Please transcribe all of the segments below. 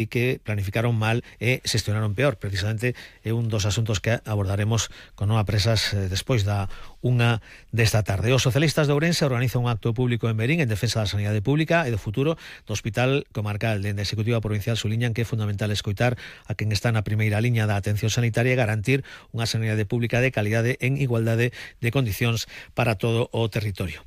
e que planificaron mal e xestionaron peor. Precisamente é un dos asuntos que abordaremos con Nova Presas despois da 1 desta tarde. Os socialistas de Ourense organizan un acto público en Verín en defensa da sanidade pública e do futuro do Hospital Comarcal. Dende a Executiva Provincial suliñan que é fundamental escoitar a quen está na primeira liña da atención sanitaria e garantir unha sanidade pública de calidade en igualdade de condicións para todo o territorio.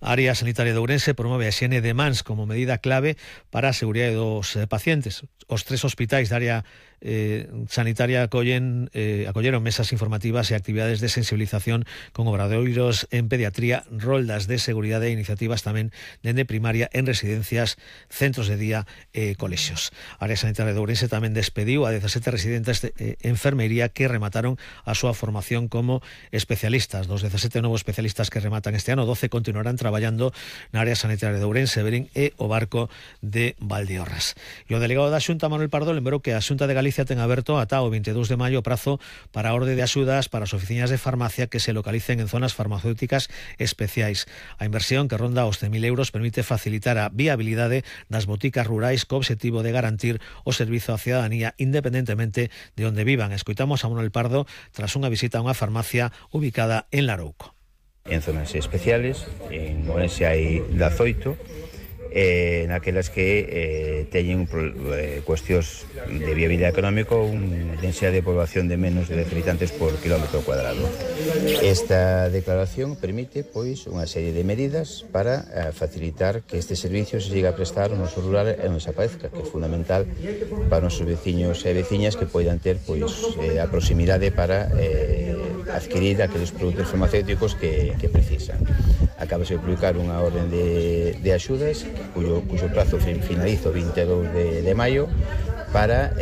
A área sanitaria de Ourense promove a higiene de mans como medida clave para a seguridade dos pacientes. Os 3 hospitais da área sanitaria acolleron mesas informativas e actividades de sensibilización con obradoiros en pediatría, roldas de seguridade e iniciativas tamén dende primaria en residencias, centros de día e colexios. A área sanitaria de Ourense tamén despediu a 17 residentes de enfermería que remataron a súa formación como especialistas. Dos 17 novos especialistas que rematan este ano, 12 continuarán traballando na área sanitaria de Ourense, Verín e o Barco de Valdeorras. E o delegado da Xunta, Manuel Pardo, lembrou que a Xunta de Galicia ten aberto ata o 22 de maio o prazo para a orde de axudas para as oficinas de farmacia que se localicen en zonas farmacéuticas especiais. A inversión, que ronda os 100.000 euros, permite facilitar a viabilidade das boticas rurais co obxectivo de garantir o servizo á cidadanía independentemente de onde vivan. Escoitamos a Manuel Pardo tras unha visita a unha farmacia ubicada en Larouco. En zonas especiales, en Ourense hai 18, naquelas que teñen cuestións de viabilidade económico, unha densidade de población de menos de 10 habitantes por kilómetro cuadrado. Esta declaración permite, pois, unha serie de medidas para facilitar que este servicio se siga a prestar no noso rural e non desaparezca, que é fundamental para os nosos veciños e veciñas que poidan ter, pois, a proximidade para adquirir aqueles produtos farmacéuticos que precisan. Acabase de publicar unha orden de axudas cuyo prazo finaliza o 22 de maio para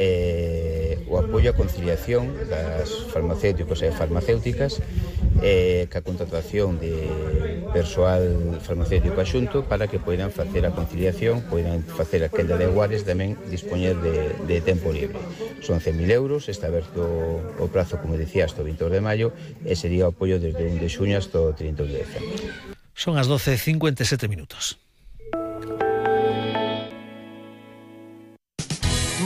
o apoio a conciliación das farmacéuticos e farmacéuticas ca contratación de persoal farmacéutico axunto para que poidan facer a conciliación, poidan facer a quenda de guares, tamén dispoñer de tempo libre. Son 100.000 euros, está aberto o prazo, como dicía, hasta o 22 de maio e sería o apoio desde 1 de xuño hasta o 30 de decembro. Son as 12:57 minutos.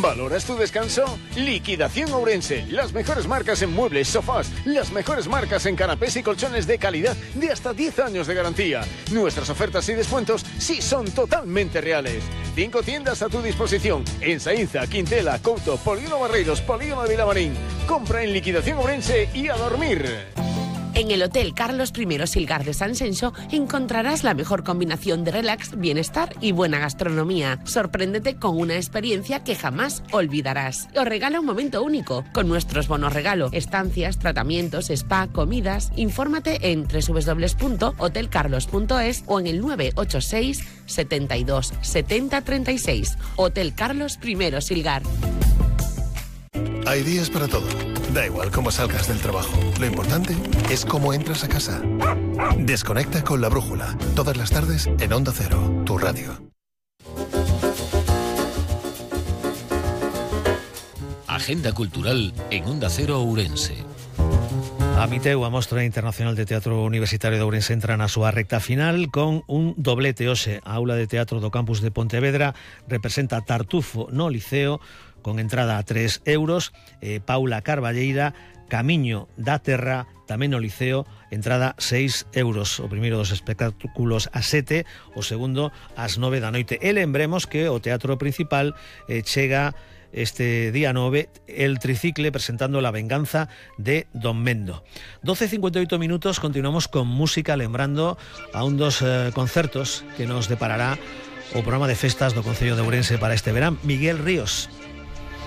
¿Valoras tu descanso? Liquidación Ourense. Las mejores marcas en muebles, sofás, las mejores marcas en canapés y colchones de calidad de hasta 10 años de garantía. Nuestras ofertas y descuentos sí son totalmente reales. 5 tiendas a tu disposición en Saínza, Quintela, Couto, Polígono Barreiros, Polígono de Vilamarín. Compra en Liquidación Ourense y a dormir. En el Hotel Carlos I Silgar de San Xenxo encontrarás la mejor combinación de relax, bienestar y buena gastronomía. Sorpréndete con una experiencia que jamás olvidarás. Os regala un momento único con nuestros bonos regalo, estancias, tratamientos, spa, comidas. Infórmate en www.hotelcarlos.es o en el 986 72 70 36. Hotel Carlos I Silgar. Hay días para todo. Da igual cómo salgas del trabajo. Lo importante es cómo entras a casa. Desconecta con La Brújula. Todas las tardes en Onda Cero, tu radio. Agenda cultural en Onda Cero Ourense. A Miteu, a Mostra Internacional de Teatro Universitario de Ourense, entra na súa recta final con un doblete hoxe. A aula de teatro do campus de Pontevedra representa Tartufo no Liceo, con entrada a 3 euros, Paula Carballeira, Camiño da Terra, tamén no Liceo, entrada 6 euros. O primeiro dos espectáculos a 7, o segundo ás 9 da noite. E lembremos que o teatro principal chega este día 9 el tricicle presentando La venganza de Don Mendo. 12:58 minutos, continuamos con música, lembrando a un dos concertos que nos deparará o programa de festas do Concello de Ourense para este verán. Miguel Ríos.